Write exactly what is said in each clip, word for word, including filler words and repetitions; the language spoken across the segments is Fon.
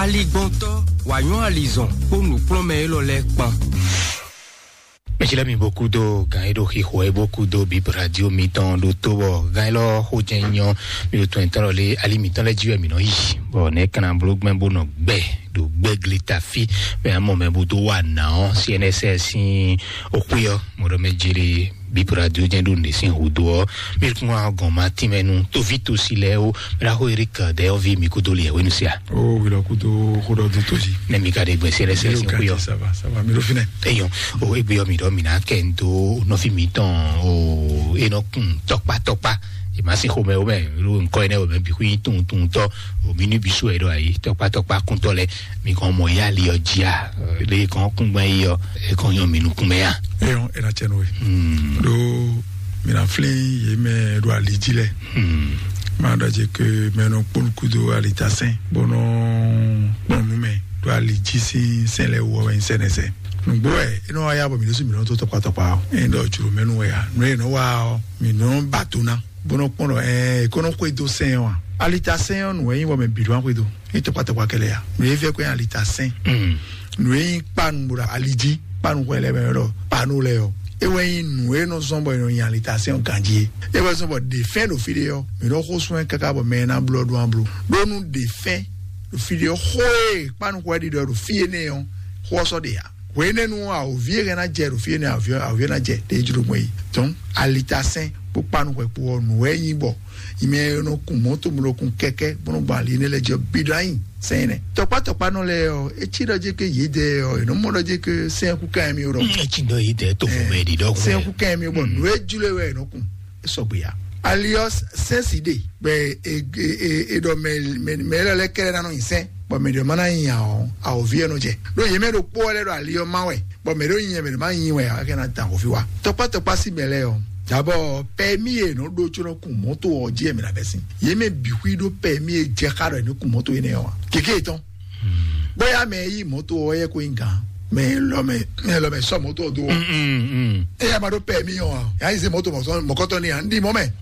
Aligbɔntɔ́, wǎ nyɔ́ alizɔn kpó nǔkplɔ́nmɛ élɔ́ lɛ́ɛ kpán. Mɛsila mi boku do gan e ɖo xixo e boku do bib radio mitɔn ɖo to bɔ gan e lɔ xo jɛ nyɔ mi ɖo tɔn etɔn lɔ lé ali mitɔn lɛ ji wɛ mi nɔ yi bɔ ne kana blo gbɛn bo nɔ gbɛ ɖo gbɛ glita fi mɛ amɔ mɛ bo do wa na ɔ C N S S sin okwe ɔ mɔdɔ mɛ jere bib radio jɛ ɖo ne sin hudo ɔ mi kún wa gɔn ma tin mɛ nu tovi tosi lɛ o mɛ la xo Eric dɛ ɔ vi mi kudo li ɛ wenu sia. O wilɔ kudo xo dɔ do tosi. Ne mi ka de gbɛ C N S S sin okwe ɔ. Ça va, ça va, mi ɖo finɛ. Eyɔn, o egbe ɔ mi ɖɔ mi na kɛ n do nɔfi mi tɔn o enɔ kun tɔkpa tɔkpa. E ma si xomɛ o mɛ ru nkɔ enɛ o mɛ bi hui tun tun tɔ o mi ni bi su ɛ ɖo ayi tɔkpa tɔkpa kuntɔ lɛ mi kɔn mɔ ya li ɔ jia le kɔn kungba yi ɔ e kɔn yɔ mi nukun mɛ ya. Eyɔn, e na cɛ no ye. Hmm. Ɖo mi na flin ye mɛ ɖo ali ji lɛ. Hmm. Ma ɖɔ je ke mɛ nɔ kpɔn kudo ali ta sɛn bɔnɔ kpɔn nu mɛ ɖo ali ji sin sɛn lɛ wɔ wɛ sɛnɛ sɛ. Nugbo wɛ e nɔ wa ya bɔ mi ɖo si mi nɔ to tɔkpa tɔkpa o. E nɔ ɖɔ juro mɛ nu wɛ ya. Nu e nɔ wa ɔ mi nɔ ba to na. Bó nɔ kpɔ́n ɖɔ ɛɛ kó nɔ xwedó sɛn ɔ́ a? Alita sɛn ɔ́ nǔ wɛ nyí bɔ mɛ bǐ ɖó wá xwedó. É tɔkpatɔkpa kɛlɛ ya. Nǔ e fẹ́ kó nyí alita sɛn. Nǔ e nyí kpanu ɖo ali jí, kpanu xwɛ lɛ́ɛ mɛ ɖɔ panu lɛ ɔ́. É wɛ nyí nǔ e nɔ zɔ́n bɔ è nɔ nyi alita sɛn ɔ́ ganjí é. É wɛ zɔ́n bɔ ɖe fɛn ɖo fí ɖé ɔ́, mǐ nɔ xó sún ɛ káká bɔ mɛ e ná bló ɔ́ ɖó ná bló. Ɖó nú ɖe fɛn ɖo fí ɖé ɔ́, xó e kpanu xwɛ ɖiɖɔ ɖo fí énɛ́ ɔ́, xó ɔ́ sɔ́ ɖe ǎ. Hwenɛ́nu awǒvi e hɛn ná jɛ ɖo fí énɛ́ awǒvi awǒvi ná jɛ ɖě jló gbɔn yi. Donc alita sɛn kpó kpanu hwɛ kpó ɔ́ nǔ wɛ nyí bɔ yi mɛ e nɔ kun mɔ̌to, mɛ e nɔ kun kɛkɛ́ bó nɔ gbɔn ali énɛ́ lɛ́ɛ jí ɔ́ bǐ ɖó anyi sɛn énɛ́. Tɔkpá tɔkpá nɔ lɛ́ɛ ɔ́, é cí ɖɔ jé ké yědɛɛ ɔ́, è nɔ mɔ ɖɔ jé ké sɛn kú ká mì ɖɔ. Mm, é cí ɖɔ yědɛɛ tó fún mɛ ɖi ɖɔ sɛn kú ká mì bɔ nǔ e jló wɛ è nɔ kun. E sɔgbe ya. Ali ɔ́ sɛn si ɖe bɛ e e e e ɖɔ mɛ mɛ mɛ lɛ lɛ kɛlɛ nanɔ nyi sɛn bɔ mɛ ɖe ma na nyi awɔ awɔvi yɛ nɔ jɛ ɖo yɛ mɛ ɖo kpɔ lɛ ɖo ali ɔ́ ma wɛ bɔ mɛ ɖo nyi mɛ ɖe ma nyi wɛ akɛ na dan awɔvi wa. Tɔkpa tɔkpa si mɛ lɛ ɔ dabɔ pɛmi yɛ nɔ ɖo tso nɔ kun mɔto ɔ ji yɛ mɛ na bɛ si yɛ mɛ bi hui ɖo pɛmi yɛ jɛ xa ɖɔ yɛ nɔ kun mɔto yɛ nɛ ɔ wa keke etɔn. Bóyá mɛ yí mɔto ɔ yɛ ko nyi gan mɛ lɔ mɛ mɛ lɔ mɛ sɔ mɔto ɔ do ɔ. Eya ma ɖo pɛmi ɔ wa ya yi se mɔto mɔkɔtɔ ni ya n di mɔ mɛ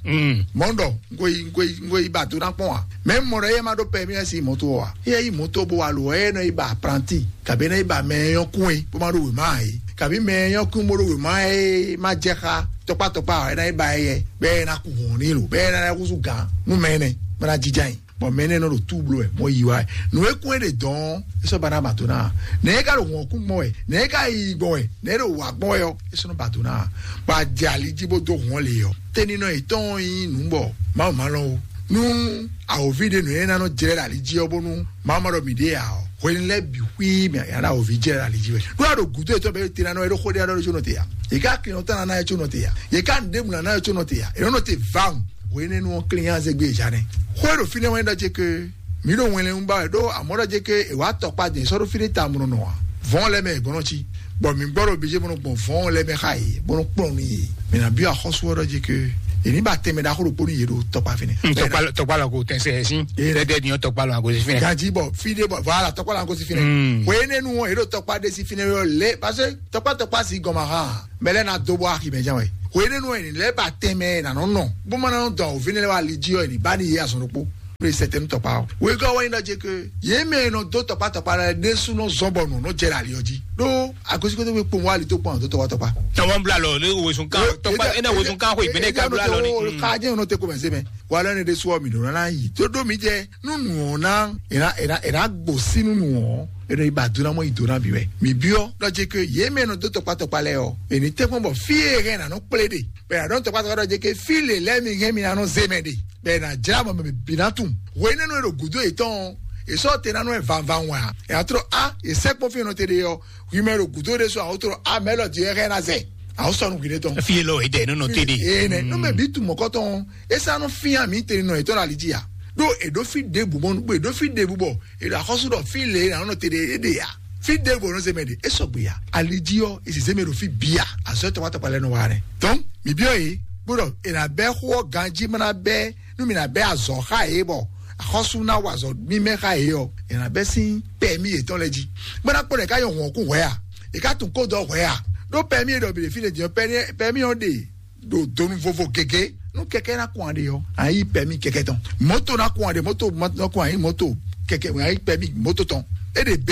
mɔ n dɔ n ko yi n ko yi n ko yi ba do na kpɔn wa mɛ mɔ ɖɔ eya ma ɖo pɛmi ya si mɔto ɔ wa eya yi mɔto bo wa lo ɛ nɔ yi ba apranti kabi nɔ yi ba mɛ yɔ kun ye bó ma ɖo wema ye kabi mɛ yɔ kun bó ɖo wema ye ma jɛ xa tɔkpa tɔkpa ɛ na yi ba ye yɛ bɛ na ku hɔn ni lo bɛ na kusu gan nu mɛ nɛ bɛ na jija yi. Bɔn mɛ énɛ́ nɔ ɖo túblo wɛ mɔ yi wá wɛ nǔ e kún é ɖe dɔn é sɔ́ ba ná ba tó ná nɛ é ka ɖo hɔn kún gbɔn wɛ nɛ é ka yi gbɔn wɛ nɛ é ɖo wǎ gbɔn wɛ ɔ́ é sɔ́ nɔ ba tó ná bɔ a jɛ ali jí bó dó hɔn lě ɔ́ tɛninɔ yětɔn nyí nǔ bɔ mawu ma lɔn o nú awǒvi ɖe nǔ e ná nɔ jlɛ́ ɖo ali jí ɔ́ bónú mawu ma ɖɔ mǐ ɖe ǎ ɔ́ hwenu lɛ́ɛ bǐ xwíí mǐ ǎ ɖo awǒvi jlɛ́ ɖo ali jí wɛ ɖó a ɖo gǔdo yětɔn bɛ́ te ná nɔ é ɖó xó ɖé ná nɔ é có nɔ te ǎ yě ká kinɔ tán ná é có nɔ te ǎ yě ká nǔɖé mǔ ná ná é có nɔ te ǎ è nɔ nɔ te vǎwun hwenɛ́nu ɔ́ klín nyi azɛgbé e Zane. Xó e ɖo fínɛ́ wɛ nyí ɖɔ ce ke mǐ ɖo wɛnlɛ́n ba wɛ ɖó amɔ̌ ɖɔ ce ke è wǎ tɔkpa din è sɔ́ ɖó fí ɖé ta mɔnɔ nɔ ǎ. Vɔ̌n lɛ́ɛ mɛ è gbɔn nɔ cí, bɔ mǐ gbɔ ɖo bǐ ce bó nɔ gbɔn vɔ̌n lɛ́ɛ mɛ xá yě bó nɔ kplɔ́n nú yě. Mǐ ná byɔ́ axɔ́sú ɔ́ ɖɔ ce ke è ní ba tɛnmɛ ɖaxó ɖokpó nú yě ɖo tɔkpa fínɛ́. Tɔkpa tɔkpa lɔ ko tɛn sɛ sin. Ee, dɛdɛ ni tɔkpa lɔ agozi fínɛ́. Ganjí bɔ fí ɖé bɔ voilà tɔkpa lɔ agozi fínɛ́. Hwenɛ́nu ɔ́ è ɖo tɔkpa ɖé sí fínɛ́ ɔ́ lé parce que tɔkpa tɔkpa sí gɔn ma hán. Mɛ lɛ́ɛ ná dó bɔ axi mɛ jɛ́n wɛ. Hwenɛ́nu ɔ́, è nǐ lɛ́ ba tɛnmɛ e nǎ nɔ nɔ, bó ma ná nɔ dɔn awǒvi énɛ́ lɛ́ɛ wá ali jí ɔ́, è nǐ ba n'i yě azɔn ɖokpó. Ɖó è sɛ tɛnú tɔkpa ɔ́. Wegɔ́ wɛ nyí ɖɔ jɛ ke yě mɛ e nɔ dó tɔkpá tɔkpá lɛ́ɛ ɖésú nɔ zɔ́n bɔ nǔ nɔ jɛ ɖo ali ɔ́ jí. Ɖó agosíkótó gbe kpowun wá ali tó kpɔ́n àwọn tó tɔkpá tɔkpá. Àwọn bla lɔ lé wosun kan tɔkpá ena wosun kan xo ìgbéne ka bla lɔ ni. Ká jẹ́ ìrún tẹ́ kó mẹ́ se mẹ́. Wà lẹ́nu ɖésú ọ̀ mì ɖò ná yí. Tó ɖó mi jẹ́ nú nù ɔ́ ná è ná è ná è ná gbǒ sí nú nù ɔ́ è nɔ yi ba dó ná mɔ yi dó ná bǐ wɛ. Mǐ byɔ́ ɖɔ jɛ ke yě mɛ nɔ dó tɔkpá tɔkpá lɛ́ɛ ɔ́, è nǐ tɛ́nkpɔ́n bɔ fí e hɛn nǎ nɔ kplé ɖe. Bɔ è nǎ ɖɔ tɔkpá tɔkpá ɖɔ jɛ ke fí lě lɛ́ɛ mi hɛn mi ná nɔ zé mɛ ɖe. Bɔ è nǎ jlá mɔ mɛ bǐ ná tunwun. Hwenɛ́nu e ɖo gǔdo yětɔn ɔ́, è sɔ́ te ná nɔ ɛ vanvan wɛn ǎ. È nǎ tlɔ á, è sɛ́ kpɔ́n fí e nɔ te ɖe ɔ́, hwi mɛ e ɖo gǔdo ɖé sɔ́ ǎ, ó tlɔ á, mɛ élɔ́ din wɛ hɛn ná zɛ. Àwọn sɔnu hwi ɖe tɔn. Fi lɔ ede nɔ nɔ te de. Ee nɛ, nɔ mɛ bi tu mɔkɔtɔn, esa nɔ fia mi te nɔ etɔn ali dzi ya. Ɖo eɖo fi ɖebu bɔ, eɖo fi ɖebu bɔ, eɖo axɔsu ɖɔ fi le na nɔ te de ede ya. Fi ɖebu nɔ zeme de, esɔgbe ya. Ali dzi yɔ, esi zeme ɖo fi bia, azɔ tɔgba tɔgba lɛ nɔ wa nɛ. Donc, mi biɔ ye, gbɔdɔ ena bɛ xɔ ganji mana bɛ, nu mi na bɛ azɔ xa ye bɔ, axɔsu na wa azɔ mi mɛ xa ye yɔ, ena bɛ sin pɛ mi yetɔn lɛ dzi. Gbɔdɔ kpɔ ɖe ka yɔ hɔn kun hwɛ ya, e ka tun ko dɔ hwɛ ya. Ɖo pɛ mi yɛ ɖɔ bi ɖe fi le dzi yɔ, pɛ mi yɔ ɖe. Ɖo donu vovo gege nu kɛkɛ na kún aɖe yɔ ayi pɛmi kɛkɛ tɔn moto na kún aɖe moto na kún ayi moto kɛkɛ ayi pɛmi moto tɔn E ɖe B,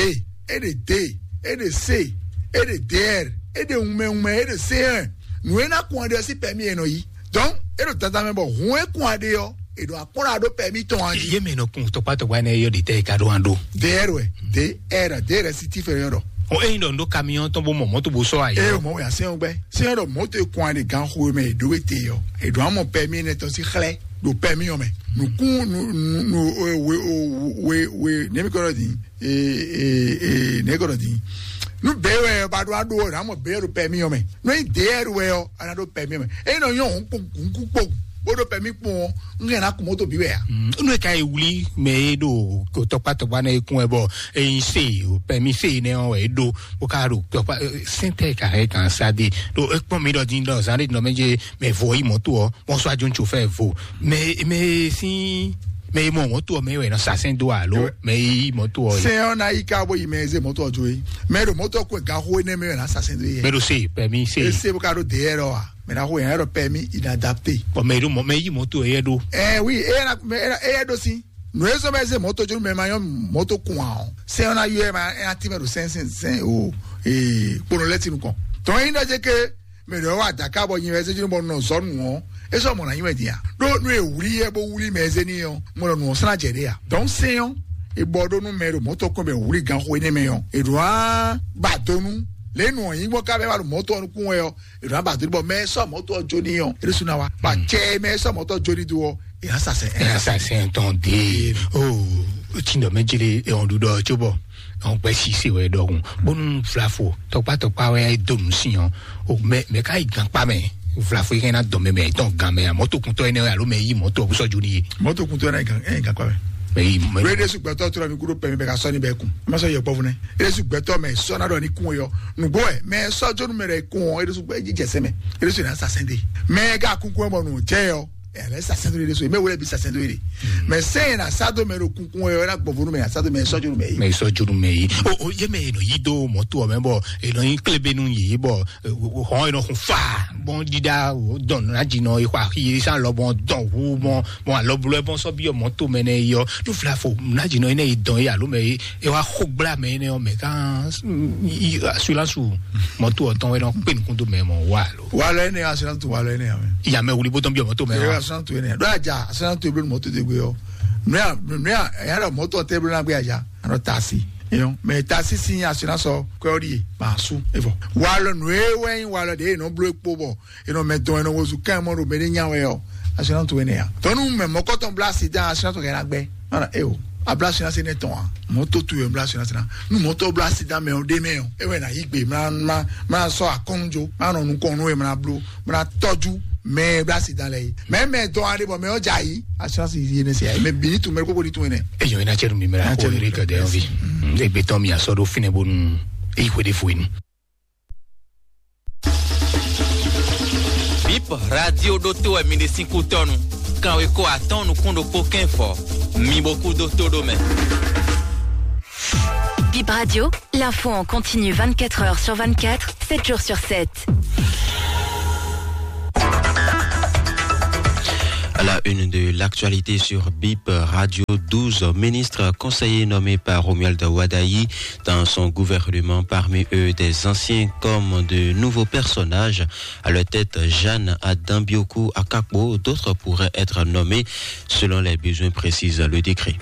e ɖe D, e ɖe C, e ɖe D R, e ɖe wunmɛ wunmɛ, e ɖe C un. Nǔ e ná kun aɖe ɔ́ sín pɛ́mi e nɔ yí. Donc, e ɖo dandan mɛ bɔ hun e kun aɖe ɔ́, e ɖo akpɔ́n ɖo pɛ́mi tɔn a jí. Ye mɛ nɔ kun tɔkpatɔkpa ne yɔ ɖi tɛ ka ɖo an ɖo. D R wɛ, D R, D R si ti fɛ yɔ ɖɔ. O eyin ɖɔ ndo camion tɔn bo mɔ mɔto bo sɔ ayi. E o mɔ wɛ asɛn gbɛ. Sɛn ɖɔ mɔto e kun aɖe gan xo mɛ e ɖo e te yɔ. E ɖo amɔ pɛ́mi ne tɔn si xlɛ ɖo pɛ́mi ɔ mɛ. Nukun nu nu nu we we we ne mi kɔ ɖɔ di. Ee, ee, ee, ne kɔ ɖɔ din. Nu bɛɛ wɛ ba ɖo aɖo ɔ́, na mɔ bɛɛ ɖo pɛmi ɔ́ mɛ. Nɔ nyi deɛ wɛ ɔ́, ana ɖo pɛmi ɔ́ mɛ. Eye nɔ nyɔ hɔn kpo, hɔn kú kpo, bó ɖo pɛmi kpo ɔ́, n hɛn na kun mɔto bi wɛ a? Nú e ka yi wuli mɛ e ɖo tɔkpatɔkpa nɛ e kún wɛ bɔ eyin se pɛmi se nɛ ɔ́ wɛ e ɖo bó ka ɖo tɔkpa sɛntɛ ka hɛ kan sa de ɖo ekpɔn mi ɖɔ din ɖɔ zan ɖe nɔ mɛ dze mɛ vɔ yi mɔto ɔ́. Bɔnsɔ́ ajo ŋutsu fɛ vo. Mɛ mɛ sín mɛ yi mɔ mɔto ɔ́ mɛ wɛ nɔ sa sɛn dó alo mɛ yi mɔto ɔ́. Sɛn ɔ́ ná yi ká bó yi mɛ e zé mɔto ɔ́ jó é. Mɛ ɖo mɔto ɔ́ kó ɛ gan xó énɛ́ mɛ wɛ ná sa sɛn dó yɛ. Mɛ ɖo se pɛmi se. Ese bó ka ɖo dèyɛ rɔ wa. Mɛ ná xó yɛn yɛ ɖɔ pɛmi inadapté. Bɔn mɛ ɖo mɔ mɛ yi mɔto ɔ́ yɛ ɖo. Ɛ wi, e yɛ na mɛ e yɛ ɖo sí. Nǔ e zɔ́n bɔ e zé mɔto jó mɛ ma nyɔ́ mɔto kun ǎ ɔ́, sɛn ɔ́ ná yɔ ɛ ma ɛ ná tínmɛ ɖo sɛn sɛn sɛn o ee kponɔ lɛ́ tinu kɔn. Tɔn yi ɖɔ jɛ ke mɛ ɖɔ wa daka bɔ nyi wɛ zé jó bɔ nɔ zɔ nù ɔ́, e sɔ mɔ na nyi wɛ dia. Ɖó nú e wuli yɛ bó wuli mɛ zé ní ɔ́, mɔ ɖɔ nù ɔ́ sán jɛ ɖe ya. Dɔn sɛn ɔ́, e bɔ ɖó nú mɛ ɖo mɔto kɔn bɛ wuli gan xo énɛ́ mɛ ɔ́, e ɖo á ba donu lě nù ɔ́ nyi gbɔn ká bɛ wa ɖo mɔto ɔ́ nukún wɛ ɔ́, e ɖo á ba donu bɔ mɛ sɔ mɔto ɔ́ jó ní ɔ́, e ɖo sún na wa. Ba cɛ mɛ sɔ mɔto ɔ́ jó ní do ɔ́, e hã sasɛ. E hã sasɛ tɔn de o. Tindɔ mɛ jele ehɔn ɖuɖɔ tso bɔ ehɔn gbɛ sise wɛ ɖɔhun bonu flafo tɔkpatɔkpa wɛ do nu si hɔn o mɛ mɛ ka yi gan kpa mɛ flafo yi kɛnɛ dɔn mɛ mɛ tɔn gan mɛ amɔ to kuntɔ yɛ ne alo mɛ yi mɔtɔ busɔ joli ye. Mɔtɔ kuntɔ yɛ ne gan ɛ gan kpa mɛ. Mɛ yi mɛ. Wele su gbɛtɔ tora mi kudo pɛ mi bɛ ka sɔni bɛ kun ma sɔ yɛ gbɔvu nɛ. Ele su gbɛtɔ mɛ sɔna dɔ ni kun yɔ nugbo ɛ mɛ sɔ jonu mɛ dɛ kun ɔ ele su gbɛ jijɛ sɛ mɛ ele su na sa sɛn de mɛ ga kunkun ɛ bɔ nu jɛ yɔ. Ɛ lɛ sa sɛn to de so mɛ wele bi sa sɛn to de mɛ sɛn yɛ na sa do mɛ do kunkun ɛ na gbɔvu nu mɛ na sa do mɛ sɔ jonu mɛ yi. Mɛ sɔ jonu mɛ yi o o ye mɛ yɛ nɔ yi do mɔto ɔ mɛ bɔ yɛ nɔ yi klebe nu yi bɔ hɔn yɛ nɔ kun fa bɔn dida dɔn na dzi nɔ yi xɔ axi yi san lɔ bɔn dɔn wu bɔn bɔn alɔ blo bɔn sɔ bi ɔ mɔto mɛ nɛ yi ɔ tu fila fo na dzi nɔ yi nɛ yi dɔn yi alo mɛ yi e wa xo gbla mɛ yi nɛ ɔ mɛ kan assurance mɔto ɔ tɔn wɛ nɔ kpe nukun do mɛ mɔ wa lo. Wa lɔ ene assurance wa lɔ ene amɛ. Yamɛ wuli bó tɔn bi ɔ mɔto mɛ wa. Assurance ene do aja assurance to eblo mɔto de gbe ɔ nua nua ya lɔ mɔto ɔ tɛ eblo na gbe aja anɔ tasi. Eyɔn mɛ tasi si assurance ɔ kɔ ɔ di ye ma su evɔ. Wa lɔ nue wɛ yin wa lɔ de enɔ blo ekpo bɔ enɔ mɛ dɔn enɔ wozu kan mɔ ɖo mɛ ɖe nya wɛ ɔ assurance to ene ya. Tɔnu mɛ mɔkɔtɔn bla sida assurance to kɛ na gbɛ. Mana e o abla assurance ne tɔn a mɔto tu yɛ bla assurance na nu mɔtɔ bla sida mɛ o de mɛ o e wɛ na yi gbe mla mla mla sɔ akɔnu jo mla nɔ nukɔnu e mla blo mla tɔju mɛ bla sida lɛ yi mɛ mɛ dɔn a de bɔ mɛ o ja yi assurance yi ne se ya mɛ bi ni tu mɛ koko di tu ne. Eyo ina cɛ dun mi mɛ la ko yiri ka de yan vi. Egbe tɔn mi asɔ do finɛ bonu eyi ko de fo inu. Bip radio ɖo to wɛ mi ɖe sín kú tɔnu. Kanwe ko atɔn nukún ɖokpó kɛn fɔ. Mi bo kú dó tó ɖó mɛ. Bip Radio, l'info en continu vingt-quatre heures sur vingt-quatre, sept jours sur sept. À la une de l'actualité sur Bip Radio, douze ministres conseillers nommés par Romuald Wadagni dans son gouvernement, parmi eux des anciens comme de nouveaux personnages. À leur tête, Jeanne Adam Bioku Akakpo, d'autres pourraient être nommés selon les besoins, précise le décret.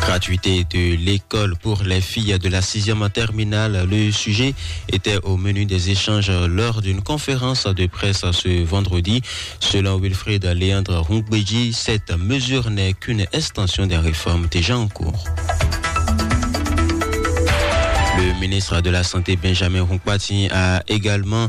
Gratuité de l'école pour les filles de la sixième terminale, le sujet était au menu des échanges lors d'une conférence de presse ce vendredi. Selon Wilfried Léandre Houngbédji, cette mesure n'est qu'une extension des réformes déjà en cours. Le ministre de la Santé, Benjamin Hunkpati, a également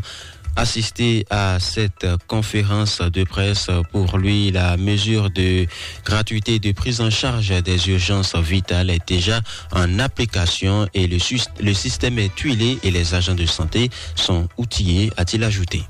assisté à cette conférence de presse. Pour lui, la mesure de gratuité de prise en charge des urgences vitales est déjà en application et le, sus- le système est huilé et les agents de santé sont outillés, a-t-il ajouté.